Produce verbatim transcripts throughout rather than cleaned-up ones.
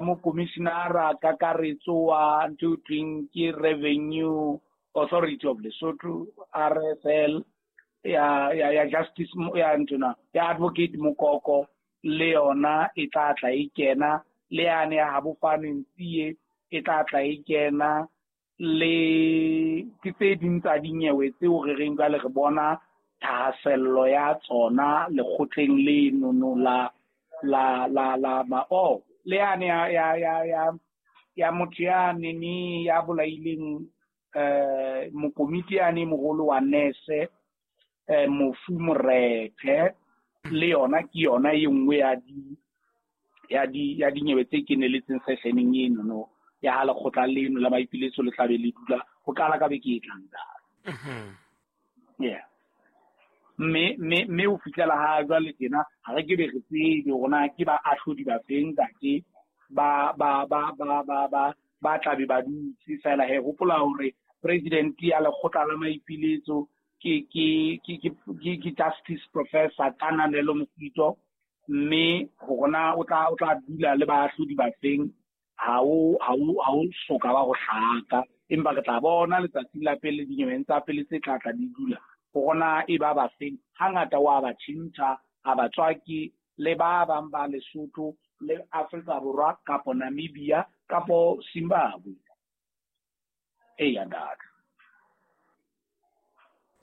Mokomishinara kakaretso wa ntho e thweng ke Revenue Authority of Lesotho, R S L, ya ya ya Justice ya ntona ya Advocate Mokoko le yona e tla tla e kena, le yane ya Habofane Ntsie e tla tla e kena, le ke tse ding tsa dinyewe tseo re reng jwale re bona thahasello ya tsona lekgotleng leno no la la la la ma oh le yane ya ya ya ya ya motho ya nene ya bolaileng eh mokomiti yane moholo wa nese eh Mofu Morethe, le yona ke yona e nngwe ya di ya di ya dinyewe tse keneletseng sessioneng eno no ya ha lekgotla leno la maipiletso le tlabe le dula ho qala ka beke e tlang. Mhm. Yeah. Mme mme mme ho fihlela ha jwale tjena ha re ke be re tsebe hore na ke ba ahlodi ba feng ntate ba ba ba ba ba ba ba tlabe ba dutse fela. He hopola hore president ya lekgotla la maipiletso ke ke ke ke ke Justice Professor Kananelo Mosito, mme hore na o tla o tla dula le baahlodi ba feng ha o ha o ha o soka ba ho hlaka, empa re tla bona letsatsi la pele dinyeweng tsa pele tse tla tla di dula hore na e ba ba feng. Hangata wa ba tjhentjha a ba tswaki le ba bang ba Lesotho le Afrika Borwa kapo Namibia kapo Zimbabwe. Eya ntate.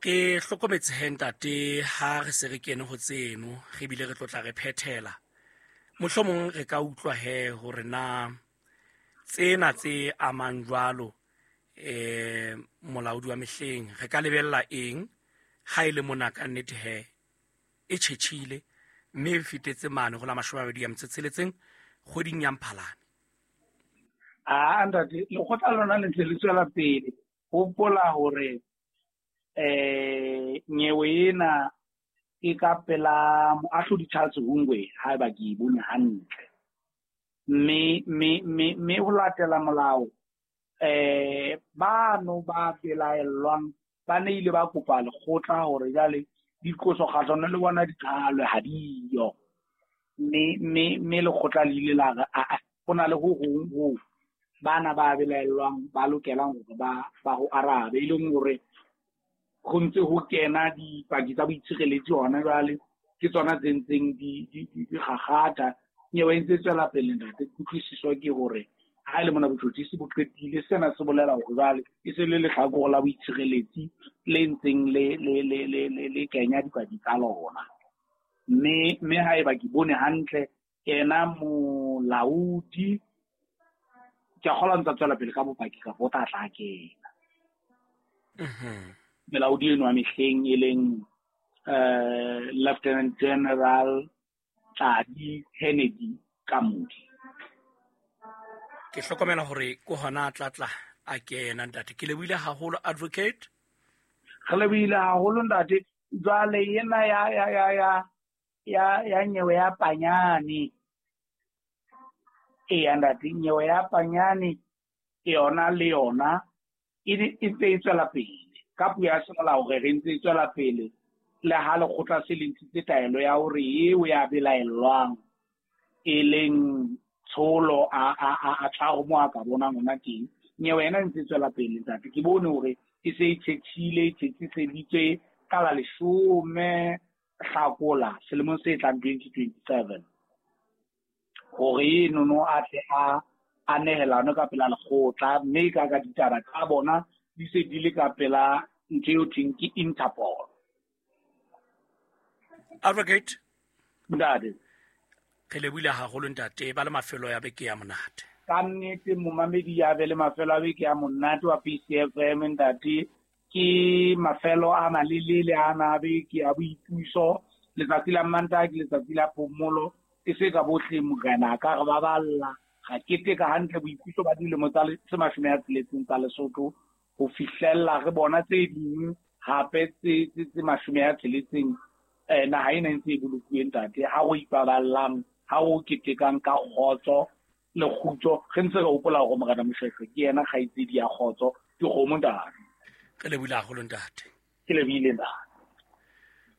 Ke hlokometse he ntate ha re se re kene ho tseno re bile re tlotla re phethela, mohlomong re ka utlwa he hore na tsena tse amang jwalo eh molaodi wa mehleng re ka lebella eng ha ile mona ka nnete he e tjhetjhile mme e fetetse mane ho la mashome a mabedi a metso e tsheletseng kgweding ya Mphalane. Ah ntate, lekgotla lona le ntse le tswela pele. Hopola hore eh nyewe ena e ka pela moahlodi Charles Hungwe haeba ke e bone hantle, mme mme mme mme ho latela molao eh bano ba belaellwang ba ne ile ba kopa lekgotla hore jwale diqoso kgahlano le bona di qhalwe ha diyo, mme mme mme lekgotla le ile la re a a ho na le ho hong ho bana ba belaellwang ba lokelang hore ba ba ho arabe, e leng hore ho ntse ho kena dipaki tsa boitshireletsi hona jwale ke tsona tse ntseng di di di gagata. Nyewe e ntse e tswela pele ntate. Kutlwisiso ke hore ha e le mona botjhotjhisi bo qetile, sena se bolela hore jwale e se le lehlakore la boitshireletsi le ntseng le le le le le le kenya dipaki tsa lona. Mme mme haeba ke bone hantle yena molaodi ke a kgolwa ntse a tswela pele ka bopaki kapa o tla tla kena. Mhm. Melaodi eno ya mehleng e leng eh Lieutenant General Tladi Kennedy Kamodi. Ke hlokomela hore ke hona tla tla a kena ntate. Ke lebohile haholo advocate. Re lebohile haholo ntate. Jwale ena ya ya ya ya ya ya nyewe ya Panyane. Eya ntate, nyewe ya Panyane yona le yona e e ntse e tswela pele. Ka puo ya semolao re re ntse e tswela pele le ha lekgotla se le ntshitse taelo ya hore eo ya belaellwang e leng Tsholo a a a a tshwaro mo a ka bonang hona teng. Nyewe ena e ntse e tswela pele ntate. Ke bone hore e se e tjhetjhile, e tjhetjhiseditswe ka la leshome Hlakola selemong se tlang twenty twenty-seven. Hore eno no a tle a a nehelane ka pela lekgotla, mme ka ka ditaba tsa bona di se di le ka pela ntho eo thweng ke Interpol. Advocate Ntate. Re lebohile haholo ntate, ba le mafelo ya beke ya monate. Ka nnete momamedi ya be le mafelo a beke ya monate wa P C F M ntate. Ke mafelo a malelele a na beke ya boipuso, letsatsi la Mantaha ke letsatsi la phomolo, e se ka bohle morena ka re ba balla ga keteka hantle boipuso ba dilemo tsa tse mashome a tsheletseng tsa Lesotho ho fihlella re bona tse ding hape tse tse mashome a tsheletseng eh naha ena e ntse e bolokuwe ntate. Ha o ipaballang, ha o ketekang ka kgotso le kgutso, re ntse re hopola hore morena Moshweshwe ke yena kgaitsedi ya kgotso, ke kgomo ntate. Re lebohile haholo ntate. Ke lebohile ntate.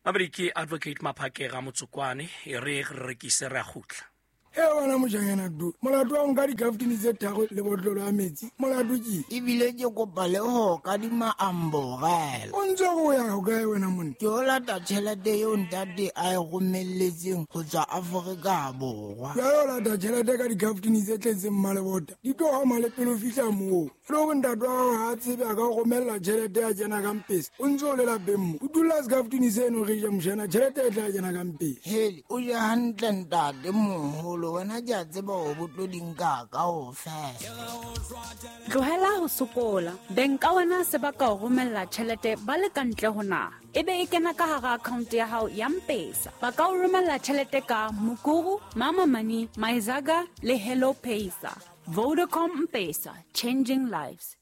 Mabedi ke Advocate Maphakera Motsokwane, e re re rekise re a kgutla. E wena moshanyana tu molato wa nka dikaftini tse tharo le botlolo ya metsi molato ke ebile ke kopa le ho kadima amborela. O ntse o ya hokae wena monna? Ke o lata tjhelete eo ntate a e romelletseng ho tswa Afrika Borwa. Jwale o lata tjhelete ka dikaftini tse tletseng mmalebota di tlo hama le pele o fihla moo. E le hore ntate wa hao ha a tsebe a ka o romella tjhelete ya kena ka mpesa o ntse o le lapeng mo. O dula sekaftini seno re je moshana tjhelete e tla kena ka mpesa. Hele o je hantle ntate moholo wena ke a tseba hore bo tlo di nka kaofela. Tlohela ho sokola. Beng ka wena se ba ka o romella tjhelete ba le ka ntle ho naha. Ebe e kena ka hara account ya hao ya M-Pesa. Ba ka o romella tjhelete ka Mukuru, Mama Money, Myzaga le Hello Pesa. Vodacom M-Pesa, changing lives.